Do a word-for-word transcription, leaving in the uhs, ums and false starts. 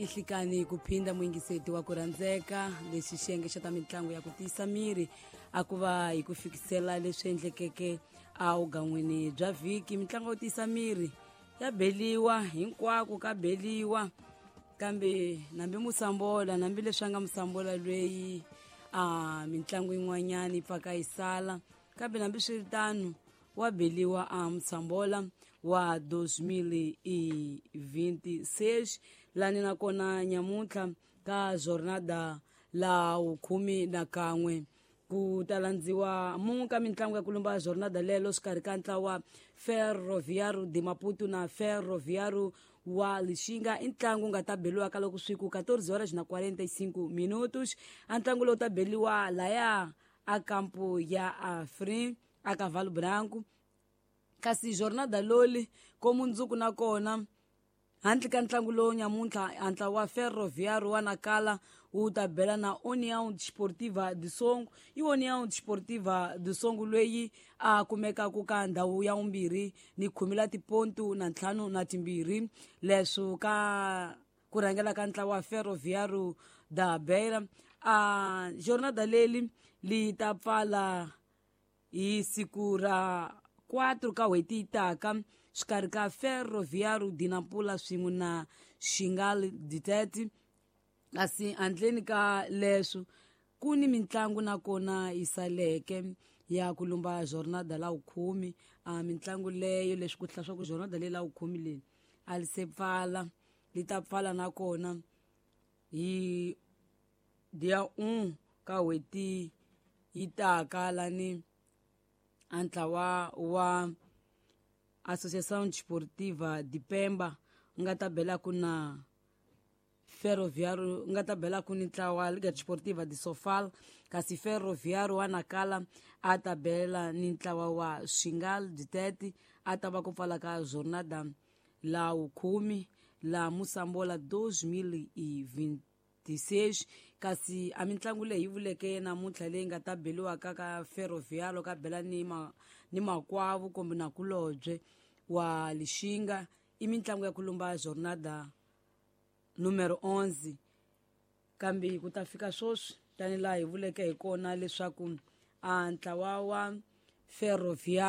Ihlikani ku phinda muyingiseti wa ku rhandzeka lexi xiyenge xa ta mitlangu ya ku tiyisa miri a ku va hi ku fikisela leswi endlekeke awugan'wini bya vhiki. Mitlangu yo tiyisa miri ya beliwa hinkwako ka beliwa, kambe nambi musambola nambi leswi a nga musambola lweyi a mitlangu yin'wanyana yi pfaka yi sala, kambe nambi swiritano wa beliwa a musambola wa dois mil e vinte e seis lani nakona nyamuntlha ka jornada la wukhume na kan'we ku ta landziwa mun'we ka mitlangu ya kulumba jornada lelo xikarhi ka ntlawa Ferroviário de Maputo na Ferroviário wa Lixinga. I ntlangu nga ta beliwa ka loko swi ku quatorze horas na quarenta e cinco minutos. A ntlangu lowu ta beliwa laya a kampo ya Afrin a Cavalo Branco. Kasi jornada loli ko mundzuku nakona handle ka ntlangu lowu nyamuntlha a ntlawa wa Ferroviário wa Nacala wu ta bela na União Desportiva de Songo. I União Desportiva de Songo leyi a kumekaka ka ndhawu ya vumbirhi ni khume la tipontu na ntlhanu na timbirhi, leswo ka ku rhangela ka ntlawa wa Ferroviário da Beira. A jornada leli li ta pfala hi siku ra quatro ka n'hweti yi taka xikarhi ka Ferroviário de Nampula swin'we na Xingal Ditete. Kasi handleni ka leswo ku ni mitlangu nakona yi saleke ya ku lumba jornada la wukhume. A mitlangu leyo leswi ku hlaya swa ku jornada leyi la wukhume leyi a li se pfala, li ta pfala nakona hi dia um ka n'hweti yi taka lani a ntlawa wa Associação Desportiva de Pemba nga ta belaku na Ferroviário, nga ta belaku ni ntlawa Liga Desportiva de Sofala, kasi Ferroviário wa Nacala a ta bela ni ntlawa wa Xingal Ditete. A ta va ku pfala ka jornada la wukhume la Moçambola dois mil e vinte e seis. Kasi a mitlangu leyi yi vuleke namuntlha leyi nga ta beliwaka ka Ferroviário ka bela ni ma ni makwavo kumbe nakulobye wa Lixinga i mitlangu ya ku lumba jornada numero onze. Kambe ku ta fika sweswi tanihi laha hi vuleke hi kona leswaku a ntlawa wa Ferroviário